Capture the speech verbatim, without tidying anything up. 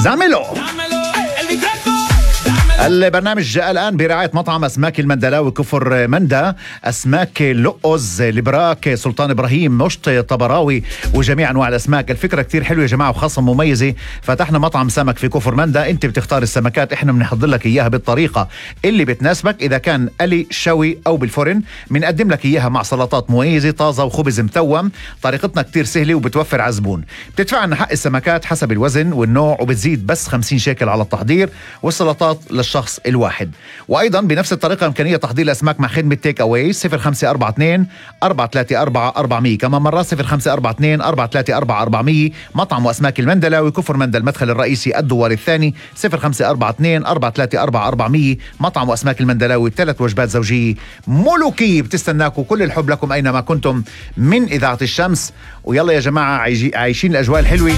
زعملو. البرنامج جاء الآن برعاية مطعم أسماك المندلاوي كفر مندا، أسماك لؤز، البراك، سلطان إبراهيم، مشط، طبراوي، وجميع أنواع الأسماك. الفكرة كتير حلوة يا جماعة وخاصة مميزة. فتحنا مطعم سمك في كفر مندا، أنت بتختار السمكات، إحنا بنحضر لك إياها بالطريقة اللي بتناسبك. إذا كان قلي، شوي أو بالفرن، بنقدم لك إياها مع سلطات مميزة طازة وخبز متوم. طريقتنا كتير سهلة وبتوفر على الزبون. بتدفع عنا حق السمكات حسب الوزن والنوع، وبتزيد بس خمسين شيكل على التحضير، والسلطات للشخص الواحد. وأيضا بنفس الطريقة إمكانية تحضير الأسماك مع خدمة تيك أواي صفر خمسة أربعة اثنين أربعة ثلاثة أربعة أربعمية. كمان مرة صفر خمسة أربعة اثنين أربعة ثلاثة أربعة أربعمية. مطعم وأسماك المندلاوي كفر مندا، المدخل الرئيسي الدوار الثاني، صفر خمسة أربعة اثنين أربعة ثلاثة أربعة أربعمية. مطعم وأسماك المندلاوي، ثلاث وجبات زوجية ملوكية بتستناكم. كل الحب لكم أينما كنتم من إذاعة الشمس. ويلا يا جماعة عايشين الأجواء الحلوة.